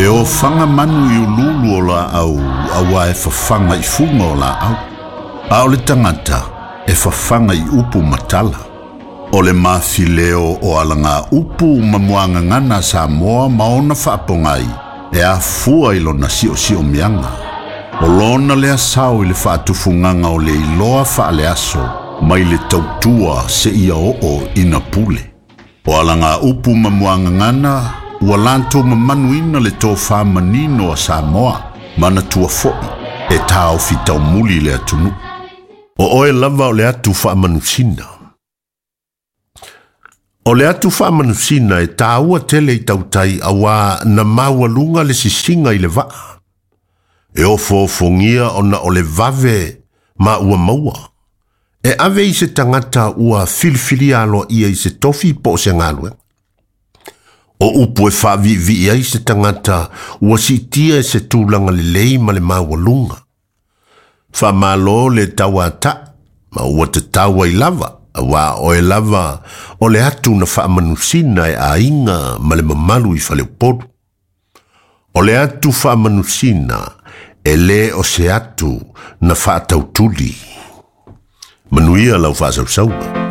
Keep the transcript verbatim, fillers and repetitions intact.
E ofaga manu i ululu o laau auā e fafaga i fuga o laau. A o le tagata e fafaga i upu ma tala. O le mafileo o alaga upu ma muagagana a Samoa ma ona faapogai e afua i lona siosiomiaga. O lona lea sao i le faatufugaga o le iloa faaleaso mai le tautua seia oo ina pule. O alaga upu ma muagagana ua latou mamanuina le tofā manino a Samoa manatua fo'i e taofi taumuli le atunuu. O oe lava o le atu faamanusina. O le atu faamanusina e tāua tele i tautai auā na maualuga le sisiga i le vaa. E ofoofogia ona o le vave ma ua maua. E ave i se tagata ua filifilia aloaia i se tofi po o se galuega. O upu e faaviivii ai se tagata ua siitia e se tulaga lelei ma le maualuga. Faamalo le tauata'i ma ua tatau ai lava, auā oe lava o le atu na faamanusina e aiga ma le mamalu i Faleupolu. O le atu faamanusina e lē o se atu na faatautuli. Manuia lau faasausauga.